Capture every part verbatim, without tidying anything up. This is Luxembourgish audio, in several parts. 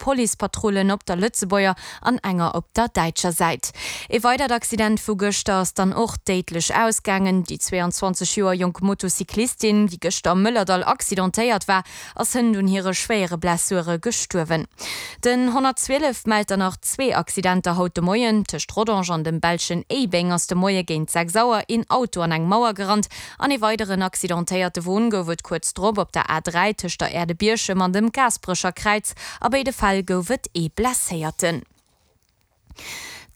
Policepatrullen op der Lëtzebuerger an enger op der däitscher Säit. Ee weidert Accident vu gëschter ass dann och déidlech ausgaangen. Déi zwee an zwanzeg Joer jonk Motocyclistin, déi gëschter am Mëllerdall accidentéiert war, ass hënt un hire schwéiere Blessure gestuerwen. Den honnertzwielef mellt dann nach zwee Accidenter haut de Moien. Tëscht Rodange an dem belschen Éibeng ass de Moie géint sechs Auer een Auto an eng Mauer gerannt an ee weideren accidentéierte Won gouf et kuerz drop op der A dräi tëscht der Aire de Bierchem an dem Gaasperecher Kräiz. A béide Fäll gouf et ee Blesséierten.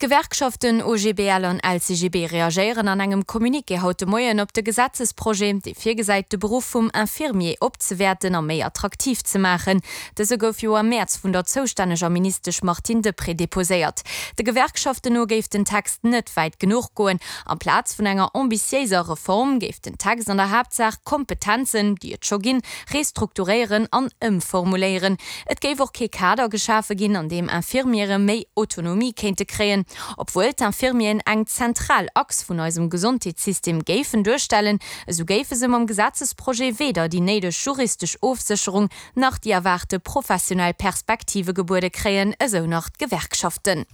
D'Gewerkschaften O G B L an L C G B reagéieren an engem Communiqué haut de Moien op de Gesetzesprojet, dee virgesäit, de Beruff vum Infirmier opzewäerten a méi attraktiv ze maachen. Dëse gouf jo am Mäerz vun der zoustänneger Ministesch Martine Deprez deposéiert. De Gewerkschaften no géif den Text net wäit genuch goen. Amplaz vun enger ambitiéiser Reform géif den Text an der Haaptsaach Kompetenzen, déi et scho ginn, restrukturéieren an ëmformuléieren. Et géif och kee Kader geschafe ginn, an deem Infirmiere méi Autonomie kéinte kréien. Obwuel d'Infirmieren eng zentral Achs vun eisem Gesondheetssystem géifen duerstellen, esou géife se mam Gesetzesprojet weder déi néideg juristesch Ofsécherung nach déi erwaarte professionell Perspektive gebuede kréien, esou nach d'Gewerkschaften.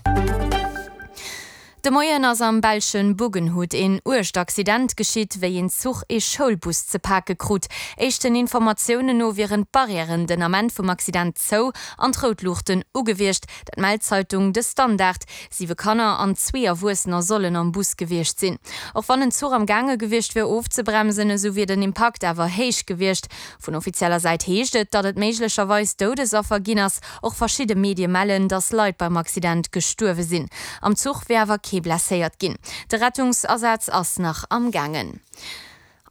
De Moien ass am belschen Buggenhout een uergt Accident geschitt, wéi een Zuch ee Schoulbus ze pake krut. Éischten Informatiounen no wieren d'Barrièren den Ament vum Accident zou an d'Routluuchten u gewiescht, dat mellt d'Zeitung De Standaard. Siwe Kanner an zwee Erwuessener sollen am Bus gewiescht sinn. Och wann den Zuch am Gaange gewiescht wier ofzebremsen, esou wier den Impakt awer héich gewiescht. Vun offizieller Säit heescht et, datt et méiglecherweis Doudesaffer ginn ass. Och verschidde Medie mellen, datt Leit beim Accident gestuerwe sinn. Am Zuch wier awer kee blesséiert ginn. De Rettungsasaz ass nach am Gaangen.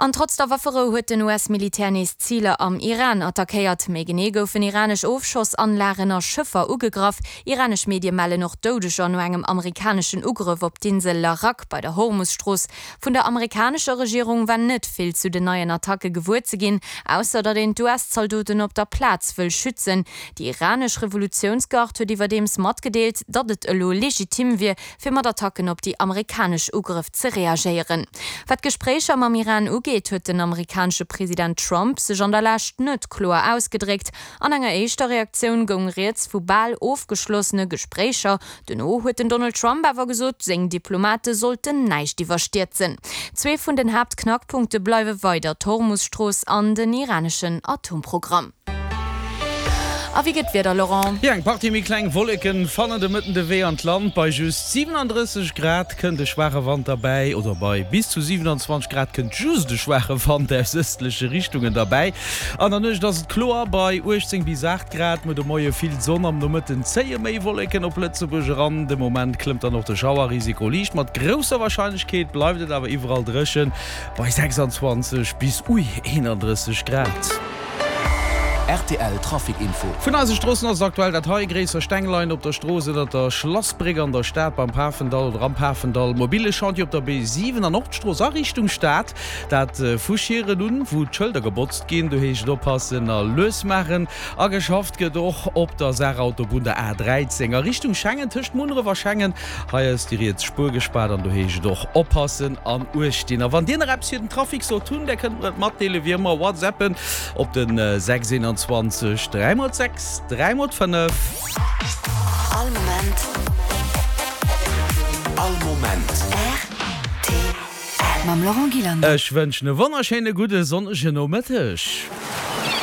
An trotz der Wafferou huet den U S-Militär nees Ziler am Iran attackéiert. Méi genee goufen iranesch Ofschossanlagen a Schëffer ugegraff. Iranesch Medie mellen och Doudeger no engem amerikaneschen Ugrëff op d'Insel Larak bei der Hormusstrooss. Vun der amerikanescher Regierung war net vill zu den neien Attacke gewuer ze ginn, ausser datt een d'U S-Zaldoten op der Plaz wëll schützen. Déi iranesch Revolutiounsgard huet iwwerdeems matgedeelt, datt et elo legitim wier, fir mat Attacken op déi amerikanesch Ugrëff ze reagéieren. Wat d'Gespréicher mam Iran ugeet, huet den amerikanesche President Trump sech an der Lescht net kloer ausgedréckt. An enger éischter Reaktioun goung rieds vu bal ofgeschlossene Gespréicher. Dono huet den Donald Trump awer gesot, seng Diplomate sollten näischt iwwerstierzen. Zwee vun den Haaptknackpunkte bleiwe weider d'Hormusstrooss an den iraneschen Atomprogramm. A wéi gëtt d'Wieder, Laurent? Jo, eng Partie méi kleng Wolleken fannen de Mëtten de Wee an d'Land. Bei just siwenaandrësseg Grad kënnt e schwaache Wand derbäi, oder bei bis zu siwenanzwanzeg Grad kënnt just e schwaache Wand aus ëstleche Richtungen derbäi. An der Nuecht ass et kloer bei uechtzéng bis aacht Grad. Muer de Moie vill Sonn, am Nomëtten zéie méi Wolleken op Lëtzebuerg eran. De Moment klëmmt dann och de Schauerrisiko liicht. Mat grousser Warscheinlechkeet bleift et awer iwwerall dréchen bei sechsanzwanzeg bis, ui, eenandrësseg Grad. R T L Trafic Info. Vun eise Stroossen ass et aktuell dat hei, Gréisser Steng leien op der Strooss ënnert der Schlassbréck an der Stad beim Pafendall oder am Pafendall. Mobile Chantier op der B siwen an Nordstrooss a Richtung Stad, dat vu Schieren un, wou d'Schëlder gebotzt ginn. Do heescht et oppassen a lues maachen. A geschafft gëtt och op der Saarautobunn, der A dräizéng a Richtung Schengen, tëscht Munneref a Schengen. Hei ass déi riets Spuer gespaart an do heescht et och oppassen an Uecht dinn. A wann dir nach eppes fir den Trafic sollt hunn, där kënnt mer et matdeelen, wéi ëmmer WhatsAppen op den sechs eenanzwanzeg dräi mol sechs dräi mol fënnef. All Moment. All Moment. R T L. Mam Laurent Gillander. Ech wënschen e wonnerschéine gudde sonnege Nomëtteg.